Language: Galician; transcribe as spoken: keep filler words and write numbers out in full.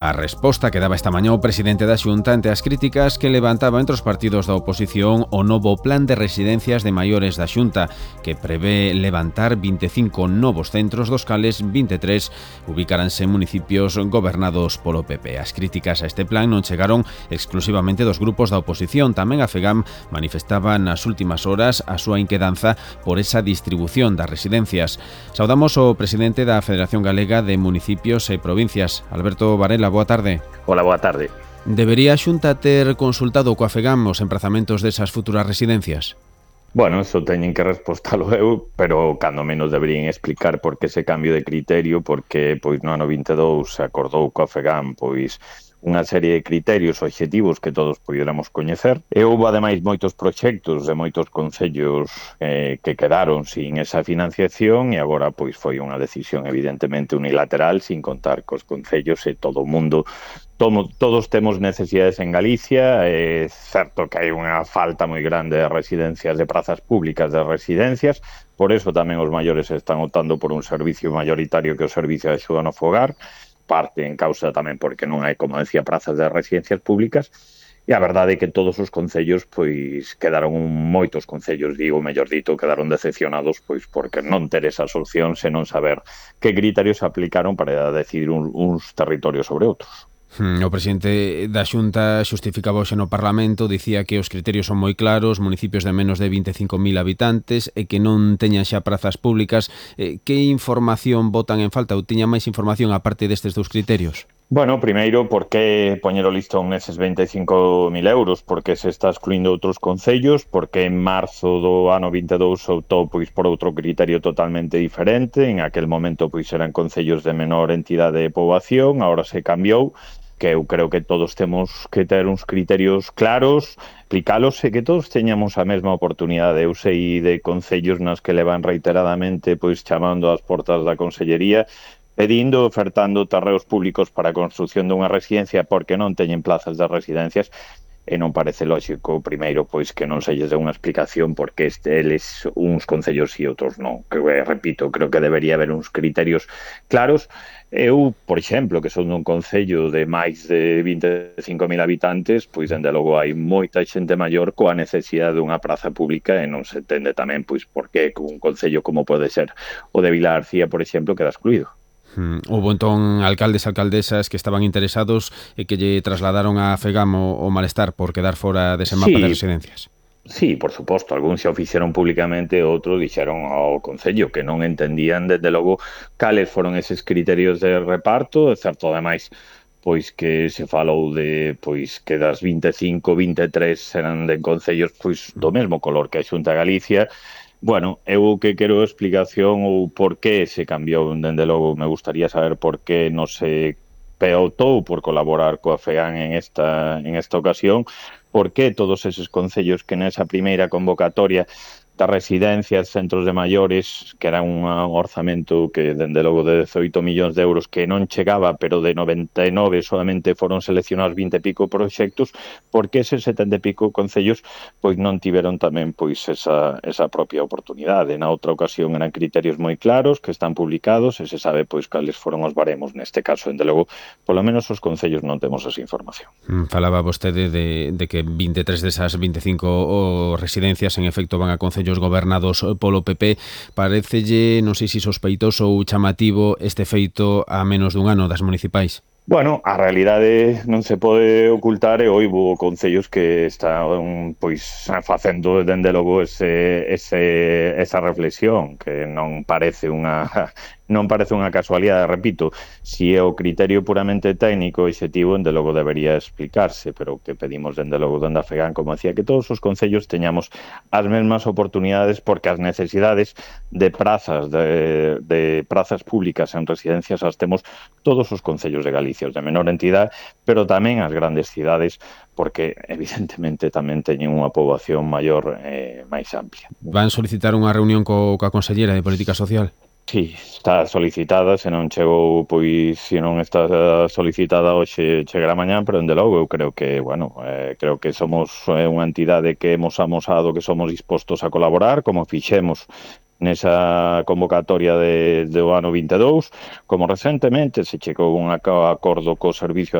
A resposta que daba esta mañá o presidente da Xunta ante as críticas que levantaba entre os partidos da oposición o novo plan de residencias de maiores da Xunta, que prevé levantar vinte e cinco novos centros, dos cales vinte e tres ubicaranse en municipios gobernados polo P P. As críticas a este plan non chegaron exclusivamente dos grupos da oposición. Tamén a FEGAM manifestaba nas últimas horas a súa inquedanza por esa distribución das residencias. Saudamos o presidente da Federación Galega de Municipios e Provincias, Alberto Varela. Boa tarde. Hola, boa tarde. Debería a Xunta ter consultado coa FEGAM os emprazamentos desas futuras residencias? Bueno, eso teñen que respostalo eu, pero cando menos deberían explicar por que ese cambio de criterio, porque pois no ano vinte e dous se acordou coa FEGAM pois unha serie de criterios obxectivos que todos pudiéramos coñecer. E houve, ademais, moitos proxectos de moitos concellos eh, que quedaron sin esa financiación e agora pois foi unha decisión evidentemente unilateral, sin contar cos concellos e todo o mundo. Tomo, todos temos necesidades en Galicia, é certo que hai unha falta moi grande de residencias, de prazas públicas de residencias, por eso tamén os maiores están optando por un servicio mayoritario que o servicio de axuda no fogar, parte en causa tamén porque non hai, como decía, prazas de residencias públicas, e a verdade é que todos os concellos pois quedaron, moitos concellos, digo, mellor dito, quedaron decepcionados pois porque non ter esas opcións e non saber que criterios aplicaron para decidir un, uns territorios sobre outros. O presidente da Xunta xustificaba hoxe no Parlamento, dicía que os criterios son moi claros, municipios de menos de vinte e cinco mil habitantes e que non teñan xa prazas públicas. Que información botan en falta ou tiñan máis información aparte destes dous criterios? Bueno, primeiro, por que poñer o listón neses vinte e cinco mil euros? Porque se está excluindo outros concellos? Porque en marzo do ano vinte e dous optou pois por outro criterio totalmente diferente? En aquel momento pois eran concellos de menor entidade de poboación, agora se cambiou, que eu creo que todos temos que ter uns criterios claros, aplicalos e que todos teñamos a mesma oportunidade. Eu sei de concellos nas que levan reiteradamente pois chamando ás portas da Consellería, pedindo, ofertando terreos públicos para a construción dunha residencia porque non teñen plazas de residencias, e non parece lógico, primeiro, pois que non se lles dé unha explicación porque este, eles, uns concellos e outros non. Que, repito, creo que debería haber uns criterios claros. Eu, por exemplo, que son dun concello de máis de vinte e cinco mil habitantes, pois, dende logo, hai moita xente maior coa necesidade dunha praza pública e non se entende tamén, pois, por que un concello como pode ser o de Vila García, por exemplo, queda excluído. Hmm. Houve entón alcaldes e alcaldesas que estaban interesados e que lle trasladaron a FEGAM o, o malestar por quedar fora dese mapa sí. de residencias. Sí, por suposto, algúns xa o fixeron públicamente, outros dixeron ao Concello que non entendían, desde logo, cales foron eses criterios de reparto. É certo, ademais, pois que se falou de pois que das vinte e cinco, vinte e tres eran de concellos pois do mesmo color que a Xunta de Galicia. Bueno, eu que quero explicación ou por que se cambiou, dende logo, me gustaría saber por que non se optou por colaborar coa FEGAM en esta, en esta ocasión, por que todos eses concellos que nesa primeira convocatoria das residencias, centros de maiores, que era un orzamento que, dende logo, de dezoito millóns de euros que non chegaba, pero de noventa e nove solamente foron seleccionados vinte e pico proxectos, porque eses setenta e pico concellos pois non tiveron tamén pois esa, esa propia oportunidade. Na outra ocasión eran criterios moi claros que están publicados e se sabe pois cales foron os baremos. Neste caso, dende logo, polo menos os concellos non temos esa información. Falaba vostede de, de que vinte e tres desas vinte e cinco o residencias en efecto van a concellos gobernados polo P P. Parécelle, non sei se sospeitoso ou chamativo este feito a menos dun ano das municipais? Bueno, a realidade non se pode ocultar e houbo concellos que están pois facendo dende logo ese, ese, esa reflexión que non parece unha non parece unha casualidade, repito, si é o criterio puramente técnico e obxectivo, dende logo debería explicarse, pero que pedimos dende logo dende a FEGAM, como decía, que todos os concellos teñamos as mesmas oportunidades porque as necesidades de prazas de, de prazas públicas en residencias as temos todos os concellos de Galicia, os de menor entidade, pero tamén as grandes cidades, porque evidentemente tamén teñen unha poboación maior e eh, máis amplia. Van solicitar unha reunión co, coa Consellera de Política Social? Sí, está solicitada, se non chegou, pois, se non está solicitada hoxe, chegará mañán, pero dende logo eu creo que, bueno, eh, creo que somos eh, unha entidade que hemos amosado que somos dispostos a colaborar, como fixemos nesa convocatoria de, do ano vinte e dous, como recentemente se chegou a un acordo co Servicio